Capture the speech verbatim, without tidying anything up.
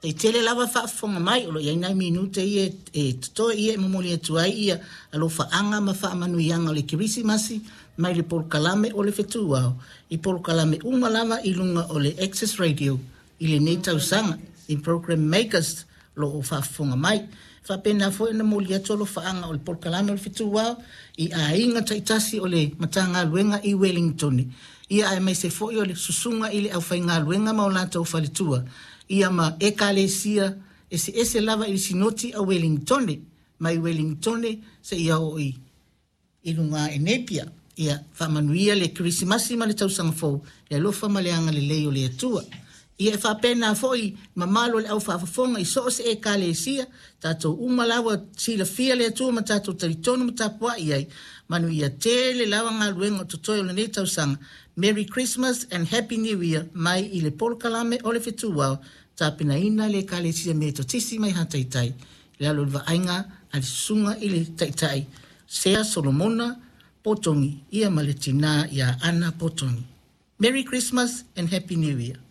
Taitele lava faafofoga mai o lo o i ai nai minute ia e totoe ia e momoli atu ai ia alofaaga ma faamanuiaga o le Kerisimasi mai le polokalame o le Fetuao i polokalame uma lava i luga o le Access Radio i lenei tausaga i program makers o lo o faafofoga mai. Faapena foi ona momoli atu alofaaga o le polokalame o le Fetuao i aiga taitasi o le Matagaluega i Wellington, ia aemaise foi o le susuga i le aufaigaluega ma o latou faletua, ia ma ekalesia eseese lava i le Sinoti a Wellington, mai Wellington seia oo i i luga i Napier. Ia faamanuia le Kerisimasi ma le tausaga fou, le alofa ma le agalelei o le Atua. Ia e faapena foi mamalu o le aufaafofoga i so o se ekalesia, tatou uma lava silafia le Atua ma tatou talitonu ma tapuai ai. Manuia tele lava galuega o totoe o lenei tausaga. Merry Christmas and Happy New Year mai i le polokalame o le Fetuao, tapenaina le ekalesia Metotisi mai Hataitai, i lalo o le vaaiga a le susuga i le Taitai Sea Solomona Potogi, ia ma le tina ia Ana Potogi. Merry Christmas and Happy New Year.